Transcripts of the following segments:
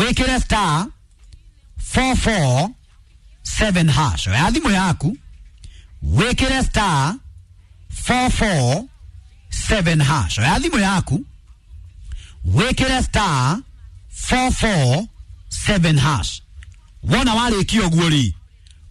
Wĩkĩre star 447 hash. Oya thimũ yaku wĩkĩre star 447 hash. Oya thimũ yaku wĩkĩre star 447 hash. Wona warĩkia ũguo rĩ,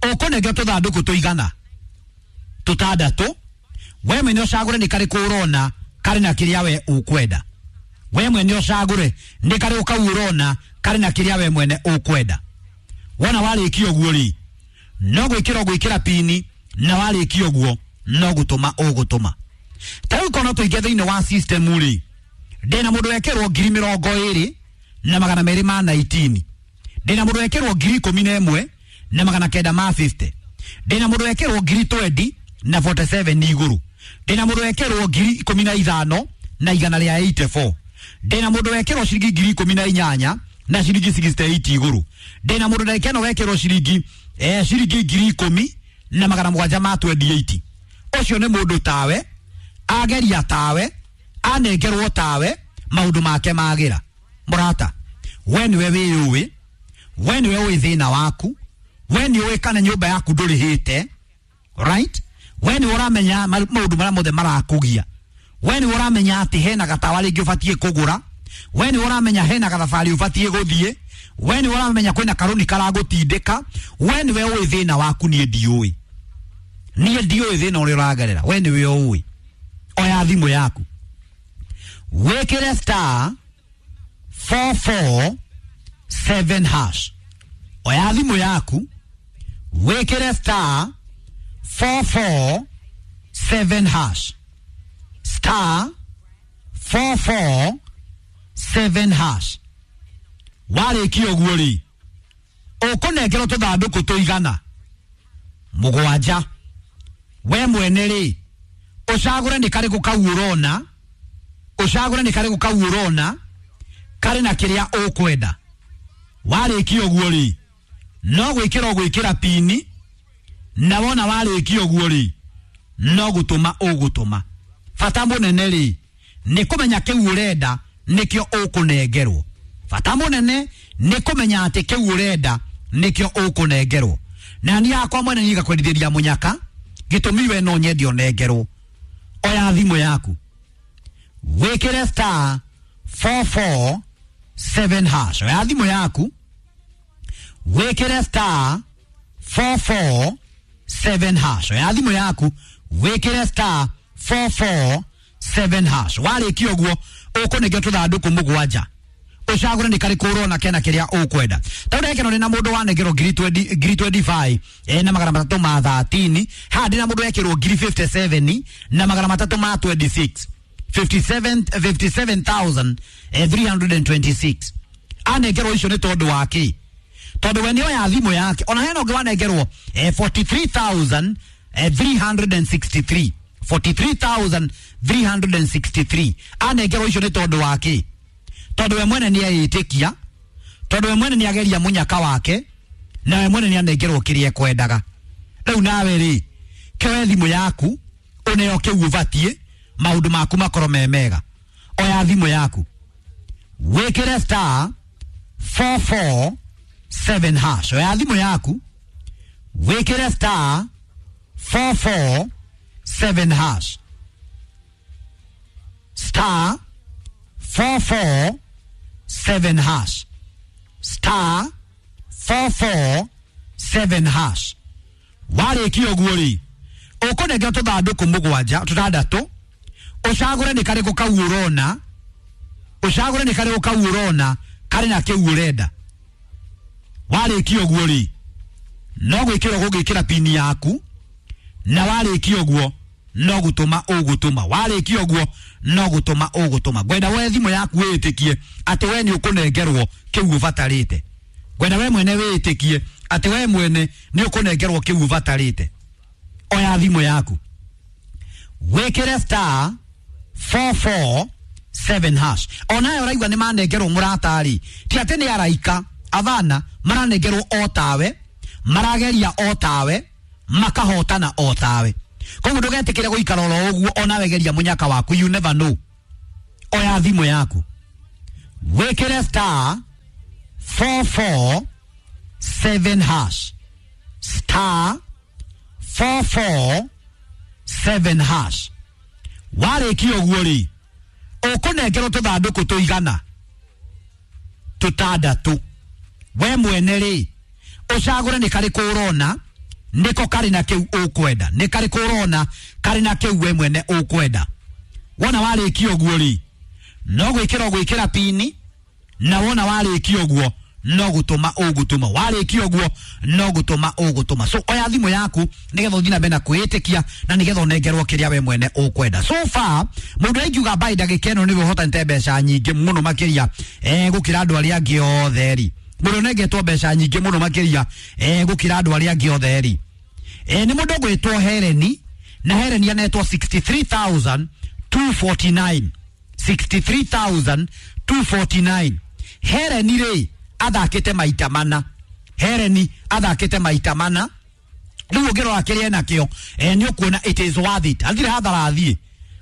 ũkũnengera tũthandũkũ tũigana tũtandatũ. We mwene ũcagũre nĩ karĩkũ ũrona karĩ na kĩrĩa we ũkwenda. We mwene ũcagũre nĩ karĩkũ kau ũrona karĩ na kĩrĩa we mwene ũkwenda. Wona warĩkia ũguo rĩ, no gwĩkĩra ũgwĩkĩra pini, na warĩkia ũguo no gũtũma ũgũtũma. Ta rĩu korwo no tũingĩ thĩinĩ wa system rĩ, ndĩna mũndũ wekĩrwo 20,219, ndĩna mũndũ wekĩrwo 11,950, ndĩna mũndũ wekĩrwo 20,047 igũrũ, ndĩna mũndũ wekĩrwo 15,184, ndĩna mũndũ wekĩrwo ciringi 18,000 na ciringi 68 igũrũ, ndĩna mũndũ ndagĩka ĩno wekĩrwo ciringi 10,728. Ũcio nĩ mũndũ tawe, ageria tawe, anengerwo tawe, maũndũ make magĩra. Mũrata, we nĩwe wĩyũĩ, we nĩwe ũĩ thĩna waku, we nĩ ũĩ kana nyũmba yaku ndũrĩhĩte, right? We nĩwe ũramenya maũndũ marĩa mothe marakũgia. We nĩwe ũramenya atĩ hena gatawa rĩngĩ ũbatiĩ kũgũra. We nĩwe ũramenya hena gathabarĩ ũbatiĩ gũthiĩ. We nĩwe ũramenya kwĩna karũni karagũtindĩka. We nĩwe ũĩ thĩna waku, niĩ ndiũĩ. Niĩ ndiũĩ thĩna ũrĩa ũragerera, we nĩwe ũĩ. Oya thimũ yaku wĩkĩre star 447 hash. Oya thimũ yaku wĩkĩre star 447 hash. Star 447 hash. Warĩkia ũguo rĩ, ũkũnengerwo tũthandũkũ tũigana mũgwanja. We mwene rĩ, ũcagũre nĩ karĩkũ kau ũrona, ũcagũre nĩ karĩkũ kau ũrona karĩ na kĩrĩa ũkwenda. Warĩkia ũguo rĩ, no gwĩkĩra ũgwĩkĩra pini, na wona warĩkia ũguo rĩ, no gũtũma ũgũtũma. Bata mũnene rĩ, nĩ kũmenya kĩu ũrenda nĩkĩo ũkũnengerwo. Bata mũnene nĩ kũmenya atĩ kĩu ũrenda nĩkĩo ũkũnengerwo. Na niĩ hakwa mwene niĩ ngakwendithĩria mũnyaka, gĩtũmi we no nyende ũnengerwo. Oya thimũ yaku wĩkĩre star 447 hash. Oya thimũ yaku wĩkĩre star 447 hash. Oya thimũ yaku wĩkĩre star 447 hash. Warĩkia ũguo ũkũnengera tũthandũkũ mũgwanja, ũcagũre nĩ karĩkũ ũrona kena kĩrĩa ũkwenda. Ta rĩu ndagĩka ĩno ndĩna mũndũ wanengerwo ngiri 25 na 313. Haha ndĩna mũndũ wekĩrwo 57 na 326, 57,326. Anengerwo icio nĩ tondũ wa kĩ? Tondũ we nĩoya thimũ yake. Ona hena ũngĩ wanengerwo 43,363, 43,363. Anengerwo icio nĩ tondũ wa kĩ? Tondũ we mwene nĩ eĩtĩkia, tondũ we mwene nĩ ageria mũnyaka wake, na we mwene nĩ anengerwo kĩrĩa ekwendaga. Rĩu nawe rĩ, kĩoe thimũ yaku ũneo kĩu ũbatiĩ, maũndũ maku makorwo me mega. Oya thimũ yaku wĩkĩre star 447 hash. Oya thimũ yaku wĩkĩre star 447 hash. Star 447 hash. Star 447 hash. Warĩkia ũguo rĩ, ũkũnengera tũthandũkũ mũgwanja tũtandatũ, ũcagũre nĩ karĩkũ kau ũrona, ũcagũre nĩ karĩkũ kau ũrona karĩ na kĩu ũrenda. Warĩkia ũguo rĩ, no gwĩkĩra ũgũgĩkĩra pini yaku, na warĩkia ũguo no gũtũma ũgũtũma. Warĩkia ũguo no gũtũma ũgũtũma. Ngwenda we thimũ yaku wĩtĩkie atĩ we nĩ ũkũnengerwo kĩu ũbatarĩte. Ngwenda we mwene wĩtĩkie atĩ we mwene nĩ ũkũnengerwo kĩu ũbatarĩte. Oya thimũ yaku wĩkĩre star 447 hash. Onayo ũraigua nĩ manengerwo mũrata-rĩ, ti atĩ nĩ araika athana, maranengerwo o tawe, marageria o tawe, makahotana o tawe. Koguo ndũgetĩkĩre gũikara oro ũguo, onawe geria mũnyaka waku, you never know. Oya thimũ yaku wĩkĩre star 447 hash, star 447 hash. Warĩkia ũguo rĩ, ũkũnengerwo tũthandũkũ tũigana tũtandatũ. We mwene rĩ, ũcagũre nĩ karĩkũ ũrona nĩko karĩ na kĩu ũkwenda, nĩ karĩkũ ũrona karĩ na kĩu we mwene ũkwenda. Wona warĩkia ũguo rĩ, no gwĩkĩra ũgwĩkĩra pini, na wona warĩkia ũguo no gũtũma ũgũtũma, warĩkia ũguo no gũtũma ũgũtũma. So oya thimũ yaku nĩgetha ũthiĩ na mbere na kwĩĩtĩkia na nĩgetha ũnengerwo kĩrĩa we mwene ũkwenda. So far mũndũ aingiuga mbaĩ ndagĩka ĩno nĩwe ũhotanĩte mbeca nyingĩ mũno makĩria gũkĩra andũ arĩa angĩ othe rĩ, mũndũ ũnengetwo mbeca nyingĩ mũno makĩria gũkĩra andũ arĩa angĩ othe rĩ, nĩ mũndũ ũgwĩtwo Hereni, na Hereni anetwo 63,249, 63,249. Hereni rĩ athakĩte maita mana, Hereni athakĩte maita mana. Rĩu ũngĩrora kĩrĩa enakĩo nĩ ũkuona it is worth it. Athire hathara athiĩ.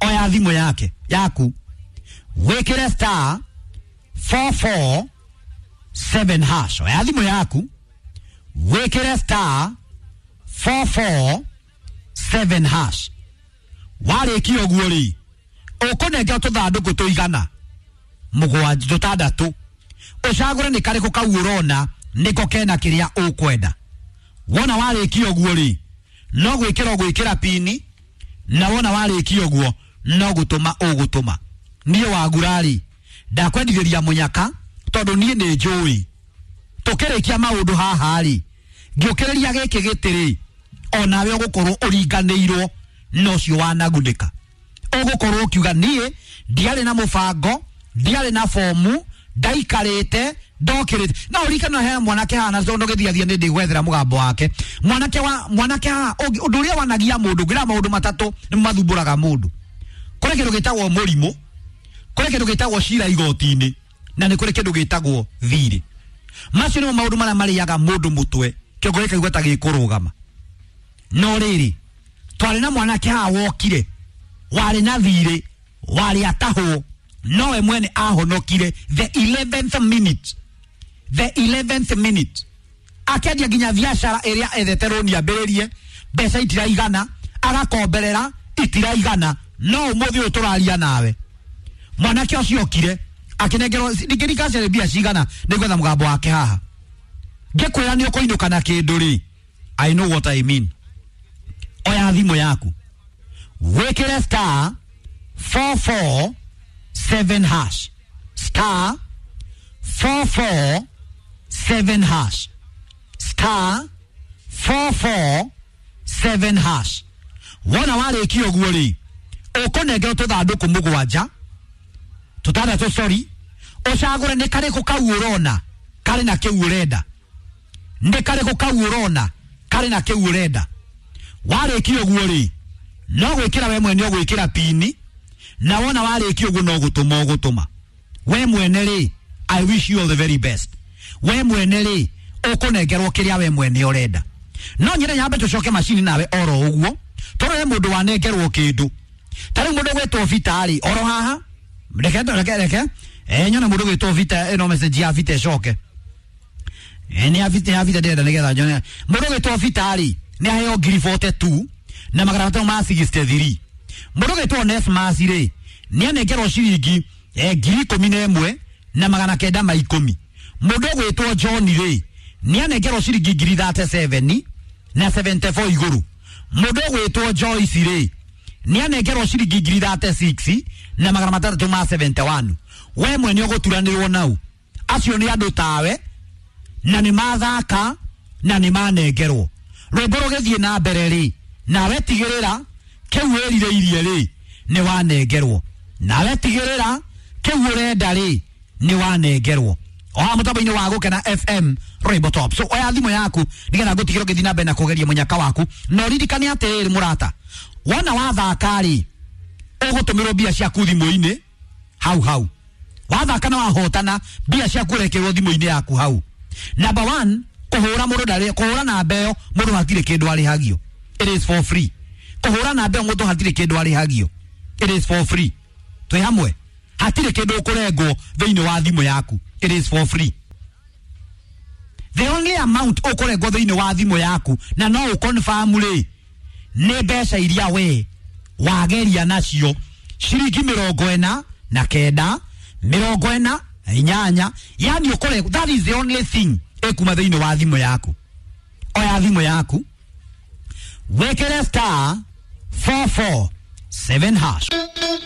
Oya thimũ yake yaku, wĩkĩre star 447 hash. Oya thimũ yaku, wĩkĩre star 447 hash. Warĩkia ũguo rĩ, ũkũnengerwo tũthandũkũ tũigana mũgwanja tũtandatũ, ũcagũre nĩ karĩkũ kau ũrona nĩko kena kĩrĩa ũkwenda. Wona warĩkia ũguo rĩ, no gwĩkĩra ũgwĩkĩra pini, na wona warĩkia ũguo no gũtũma ũgũtũma. Niĩ wagura rĩ, ndakwendithĩria mũnyaka tondũ niĩ nĩ njũĩ tũkĩrĩkia maũndũ haha rĩ, ngĩũkĩrĩria gĩkĩ gĩtĩ rĩ, onawe ũgũkorwo ũringanĩirwo na ũcio wanagunĩka. Ũgũkorwo ũkiuga niĩ ndiarĩ na mũbango, ndiarĩ na fomu, ndaikarĩte ndokĩrĩte. Na ũririkane he mwanake haha, na tondũ gĩthiathia nĩ ndĩgwethera mũgambo wake. Mwanake wa mwanake haha, ũndũ ũrĩa wanagia mũndũ, ngĩra maũndũ matatũ nĩ mathumbũraga mũndũ. Kũrĩ kĩndũ gĩtagwo mũrimũ, kũrĩ kĩndũ gĩtagwo cira igoti-inĩ, na nĩ kũrĩ kĩndũ gĩtagwo thirĩ. Macio nĩmo maũndũ marĩa marĩaga mũndũ mũtwe, kĩongo gĩkaigua ta gĩkũrũgama. No rĩrĩ, twarĩ na mwanake haha wokire, warĩ na thirĩ, warĩ atahwo, nowe mwene ahonokire the 11th minute, the 11th minute. Akendia nginya biacara ĩrĩa ethete rũni ambĩrĩrie, mbeca itiraigana, agakomberera itiraigana, no ũmũthĩ ũyũ tũraria nawe mwanake ũcio okire akĩnengerwo ndingĩrika mbia cigana, nĩngwetha mũgambo wake haha ngĩkwĩra nĩ ũkũinũka na kĩndũ rĩ, I know what I mean. Oya thimũ yaku, wĩkĩre star 447 hash, star 447 hash, star 447 hash. Wona warĩkia ũguo rĩ, ũkũnengerwo tũthandũkũ mũgwanja tũtandatũ, sorry, ũcagũre nĩ karĩkũ kau ũrona karĩ na kĩu ũrenda, nĩ karĩkũ kau ũrona karĩ na kĩu ũrenda. Warĩkia ũguo rĩ, no gwĩkĩra we mwene ũgwĩkĩra pini, na wona warĩkia ũguo no gũtũma ũgũtũma. We mwene rĩ, I wish you all the very best. We mwene rĩ, ũkũnengerwo kĩrĩa we mwene ũrenda. No nyende nyambe tũcoke macini nawe oro ũguo, tondũ he mũndũ wanengerwo kĩndũ. Ta rĩu mũndũ ũgwĩtwo Vita rĩ, oro haha, reke reke reke, nyone mũndũ ũgwĩtwo Vita, ĩno message ya Vita ĩcoke. Nĩ ya Vita, ya Vita ndĩrenda nĩgetha nyone. Mũndũ ũgwĩtwo Vita rĩ, nĩ aheo ngiri 42 na magana matano ma 63. Mũndũ ũgwĩtwo Onesmus rĩ, nĩ anengerwo ciringi ngiri 11 na magana kenda ma ikũmi. Mũndũ ũgwĩtwo John rĩ, nĩ anengerwo ciringi ngiri 37 na 74 igũrũ. Mũndũ ũgwĩtwo Joyce rĩ, nĩ anengerwo ciringi ngiri 36 na magana matandatũ ma 71. We mwene ũgũturanĩrwo nau. Acio nĩ andũ tawe, na nĩ mathaka na nĩ manengerwo. Rwĩmbo rũgĩthiĩ na mbere rĩ, nawe tigĩrĩra kĩu wĩrirĩirie rĩ, nĩ wanengerwo. Nawe tigĩrĩra kĩu ũrenda rĩ, nĩ wanengerwo. O haha mũtambo-inĩ wa Gũkena FM Rainbow Top. So oya thimũ yaku nĩgetha ngũtigĩre ũgĩthiĩ na mbere na kũgeria mũnyaka waku. Na ũririkane atĩrĩrĩ mũrata, wona wathaka rĩ, ũgũtũmĩrwo mbia ciaku thimũ-inĩ hau hau. Wathaka na wahotana, mbia ciaku ũrekĩrwo thimũ-inĩ yaku hau. Number 1, kũhũra mũndũ ndarĩ, kũhũra namba ĩyo mũndũ hatirĩ kĩndũ arĩhagio. It is for free. Kũhũra namba ĩyo mũndũ hatirĩ kĩndũ arĩhagio. It is for free. Twĩ hamwe, hatirĩ kĩndũ ũkũrengwo thĩinĩ wa thimũ yaku. It is for free. The only amount ũkũrengwo thĩinĩ wa thimũ yaku na no ũconfirm rĩ, nĩ mbeca iria we wageria nacio, ciringi 49, 48. Yani ũkũrengwo, that is the only thing ĩkuma thĩinĩ wa thimũ yaku. Oya thimũ yaku, wĩkĩre *447#.